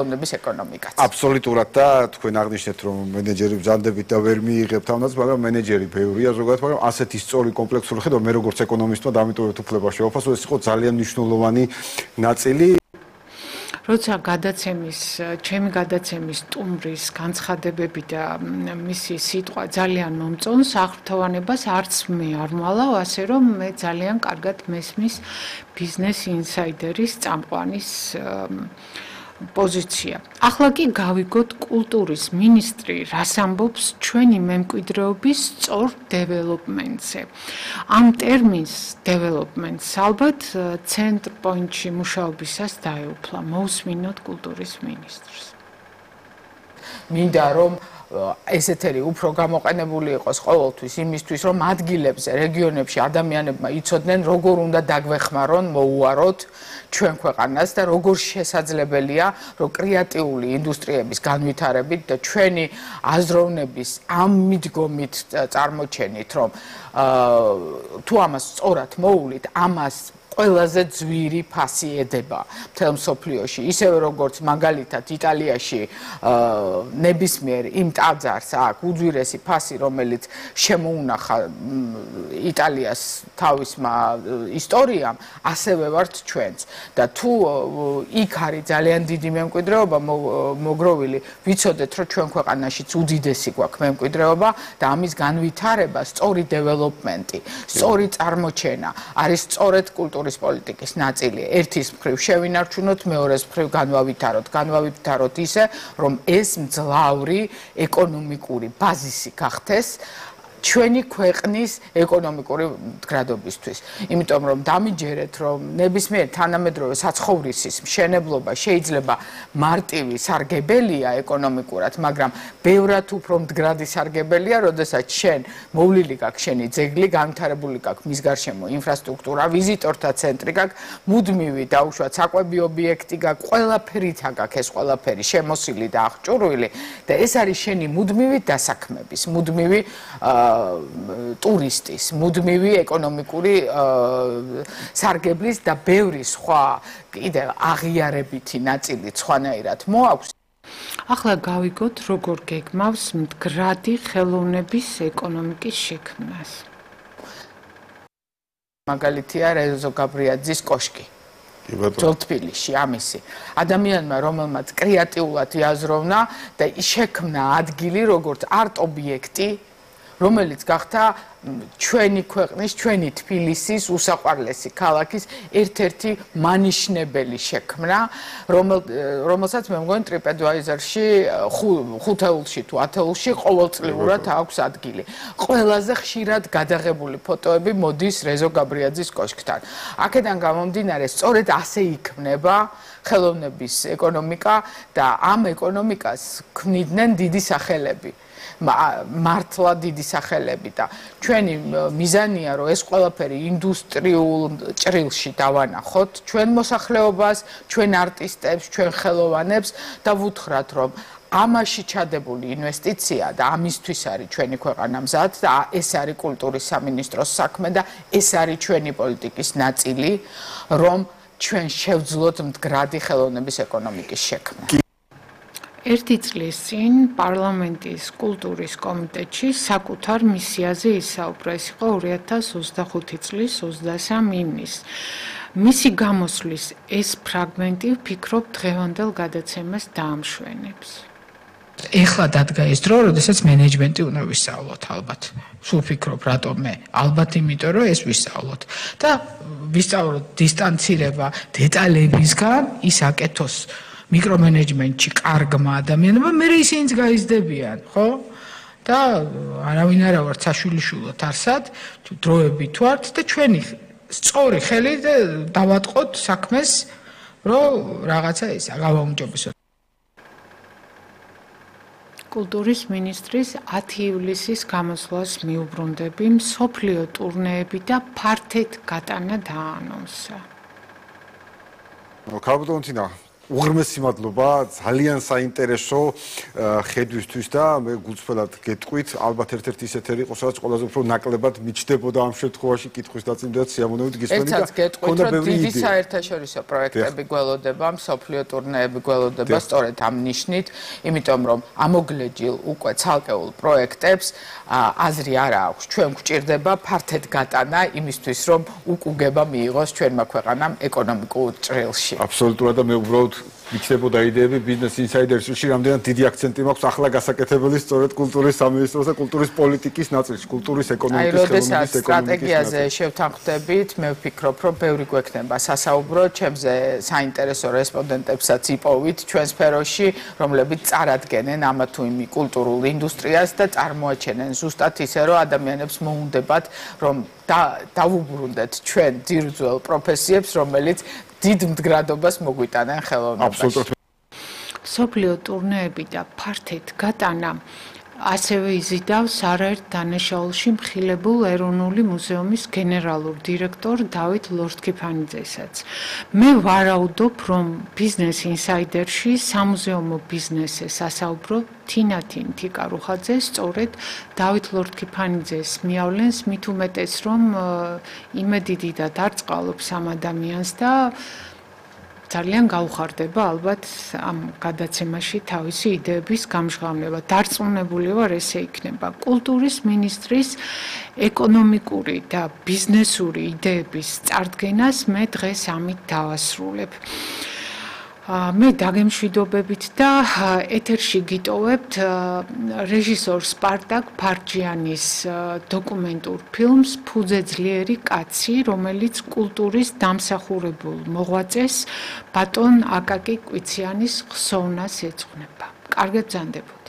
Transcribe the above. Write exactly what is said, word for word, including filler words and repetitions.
ხელოვნების ეკონომიკაც. აბსოლუტურად და თქვენ აღნიშნეთ რომ მენეჯერი ბრძანდებით და ვერ მიიღებთ ამას, მაგრამ მენეჯერი ბევრია ზოგადად, მაგრამ ასეთი სწორი კომპლექსური ხედვა მე როგორც ეკონომისტმა დამიტოვეთ უფლება შევაფასო, ეს იყო ძალიან მნიშვნელოვანი ნაწილი. როცა გადაცემის, ჩემი გადაცემის სტუმრის განცხადებები და მისი სიტყვა ძალიან მომწონს, აღფრთოვანებას არც მე არ მვალავ, ასე რომ მე ძალიან კარგად მესმის ბიზნეს ინსაიდერის წამყვანის პოზიცია. ახლა კი გავიგოთ კულტურის მინისტრი რას ამბობს ჩვენი მემკვიდრეობის სწორ დეველოპმენტზე. ამ ტერმინს დეველოპმენტს ალბათ ცენტრ პოინტში მუშაობისას დაეუფლა. მოусმინოთ კულტურის მინისტრს. მინდა რომ ეს ეთერი უფრო გამოყენებული იყოს ყოველთვის იმისთვის, რომ ადგილებზე, რეგიონებში ადამიანებმა იცოდნენ, როგორ უნდა დაგვეხმარონ, მოუაროთ ჩვენ ქვეყანას და როგორ შესაძლებელია, რომ კრეატიული ინდუსტრიების განვითარებით და ჩვენი აზროვნების ამ მიდგომით წარმოჩენით, რომ თუ ამას სწორად მოუვლით, ამას ყველაზე ძვირი ფასი ედება მთელ მსოფლიოში, ისევე როგორც მაგალითად იტალიაში ნებისმიერ იმ ტაძარს აქვს უძვირესი ფასი, რომელიც შემოუნახა იტალიას თავისმა ისტორიამ, ასევე ვართ ჩვენც. და თუ იქ არის ძალიან დიდი მემკვიდრეობა მოგროვილი, ვიცოდეთ, რომ ჩვენ ქვეყანაშიც უდიდესი გვაქვს მემკვიდრეობა და ამის განვითარება, სწორი დეველოპმენტი, სწორი წარმოჩენა არის სწორედ კულტურის პოლიტიკის ნაწილი. ერთის მხრივ შევინარჩუნოთ, მეორეს მხრივ განვავითაროთ, განვავითაროთ ისე, რომ ეს მძლავრი ეკონომიკური ბაზისი გახდეს ჩვენი ქვეყნის ეკონომიკური მდგრადობისთვის. იმიტომ რომ დამიჯერეთ, რომ ნებისმიერ თანამედროვე საცხოვრისის მშენებლობა შეიძლება მარტივი სარგებელია ეკონომიკურად, მაგრამ ბევრად უფრო მდგრადი სარგებელია, როდესაც შენ მოვლილი გაქვს შენი ძეგლი, განვითარებული გაქვს მის გარშემო ინფრასტრუქტურა, ვიზიტორთა ცენტრი გაქვს, მუდმივი დაუშვათ საკვები ობიექტი გაქვს, ყველაფერით გაქვს ეს ყველაფერი შემოსილი და აღჭურვილი და ეს არის შენი მუდმივი დასაქმების, მუდმივი ტურისტის, მუდმივი ეკონომიკური სარგებლის და ბევრი სხვა კიდევ აღიარებითი ნაწილი სხვანაირად მოაქვს. ახლა გავიგოთ, როგორ გეგმავს მდგრადი ხელოვნების ეკონომიკის შექმნას. მაგალითია რეზო გაბრიაძის კოშკი. ძველ თბილისში ამისი. ადამიანმა, რომელმაც კრეატიულად იაზროვნა და შექმნა ადგილი, როგორც არტ ობიექტი, რომელიც გახდა ჩვენი ქვეყნის, ჩვენი თბილისის უსაყვარლესი ქალაქის ერთ-ერთი მანიშნებელი შექმნა, რომელსაც მე მგონი TripAdvisor-ში ხუთეულში თუ ათეულში ყოველწლიურად აქვს ადგილი. ყველაზე ხშირად გადაღებული ფოტოები მოდის რეზო გაბრიაძის კოშკთან. აქედან გამომდინარე, სწორედ ასე იქმნება ხელოვნების ეკონომიკა და ამ ეკონომიკას ქმნიდნენ დიდი სახელები. მართლა დიდი სახელები და ჩვენი მიზანია რომ ეს ყველაფერი ინდუსტრიულ ჭრილში დავანახოთ ჩვენ მოსახლეობას, ჩვენ არტისტებს, ჩვენ ხელოვანებს და ვუთხრათ რომ ამაში ჩადებული ინვესტიცია და ამისთვის არის ჩვენი ქვეყანა მზად და ეს არის კულტურის სამინისტროს საქმე და ეს არის ჩვენი პოლიტიკის ნაწილი რომ ჩვენ შევძლოთ მდგრადი ხელოვნების ეკონომიკის შექმნა. ერთი წლის წინ პარლამენტის კულტურის კომიტეტში საკუთარ მისიაზე ისაუბრა. ეს იყო ორი ათას ოცდახუთი წლის ოცდასამი ივნის. მისი გამოსვლის ეს ფრაგმენტი ვფიქრობ დღევანდელ გადაცემას დაამშვენებს. ეხლა დადგა ეს დრო, როდესაც მენეჯმენტი უნდა ვისწავლოთ ალბათ. სულ ვფიქრობ, რატომ მე? ალბათ იმიტომ, რომ ეს ვისწავლოთ და ვისწავლოთ დისტანცირება დეტალებისგან, ის აკეთოს მიკრომენეჯმენტში კარგმა ადამიანებმა, მე ისინიც გაიზრდებიან, ხო? და არავინ არა ვართ საშვილიშვილო თარსად, დროები თუ ართ და ჩვენი სწორი ხელით დავატყოთ საქმეს, რომ რაღაცა ისა გავაუმჯობესოთ. კულტურის მინისტრის ათი ივლისის გამოსვლას მიუბრუნდები, მსოფლიო ტურნეები და ფართედ გატანა დაანონსა. ქალბატონთინა უღრმესი მადლობა, ძალიან საინტერესო ხედვისთვის და მე გულწრფელად გეტყვით, ალბათ ერთ-ერთი ისეთი იყო, სადაც ყველაზე უფრო ნაკლებად მიჩნდებოდა ამ შემთხვევაში კითხვის დაწინდა და სიამოვნებით გისმენთ და ერთად გეტყვით, რომ დიდი საერთაშორისო პროექტები გველოდება, მსოფლიო ტურნეები გველოდება სწორედ ამ ნიშნით, იმიტომ რომ ამოგლეჯილ უკვე ცალკეულ პროექტებს აზრი არ აქვს, ჩვენ გვჭირდება ფართედ გატანა იმისთვის, რომ უკუგება მიიღოს ჩვენმა ქვეყანამ ეკონომიკურ ჭრილში. აბსოლუტურად და მე უბრალოდ მიჩნდებოდა იდეები ბიზნეს ინსაიდერსში, რამდენად დიდი აქცენტი მაქვს ახლა გასაკეთებელი სწორედ კულტურის სამინისტროს და კულტურის პოლიტიკის ნაწილში, კულტურის ეკონომიკის ხელოვნების ეკონომიკის სტრატეგიაზე შევთანხმდებით, მე ვფიქრობ, რომ ბევრი გვექნება სასაუბრო, ჩემზე საინტერესო რესპონდენტებსაც იპოვით ჩვენ სფეროში, რომლებიც წარადგენენ ამა თუ იმ კულტურულ ინდუსტრიას და წარმოაჩენენ ზუსტად ისე, რომ ადამიანებს მოუნდებათ, რომ დავუბრუნდეთ ჩვენ ძირძველ პროფესიებს, რომელიც დიდ მდგრადობას მოგვიტანენ ხელოვნებაში. მსოფლიო ტურნეები და ფართედ გატანა ასევე იზიდავს არაერთ დანაშაულში მხილებულ ეროვნული მუზეუმის გენერალურ დირექტორ დავით ლორთქიფანიძესაც. მე ვარაუდობ, რომ ბიზნეს ინსაიდერში სამუზეუმო ბიზნესზე სასაუბრო თინათინ თიკარუხაძე სწორედ დავით ლორთქიფანიძეს მიავლენს, მით უმეტეს, რომ იმედი დიდად არ წყალობს ამ ადამიანს და ძალიან გაუხარდება ალბათ ამ გადაცემაში თავისი იდეების გამჟღავნება. დარწმუნებული ვარ, ესე იქნება. კულტურის მინისტრის ეკონომიკური და ბიზნესური იდეების წარდგენას მე დღეს ამით დავასრულებ. მე დაგემშვიდობებით და ეთერში გიტოვებთ რეჟისორ სპარტაკ ფარჯიანის დოკუმენტურ ფილმს ფუძე ძლიერი კაცი, რომელიც კულტურის დამსახურებულ მოღვაწეს ბატონ აკაკი კვიციანის ხსოვნას ეძღვნება. კარგად ბრძანდებო.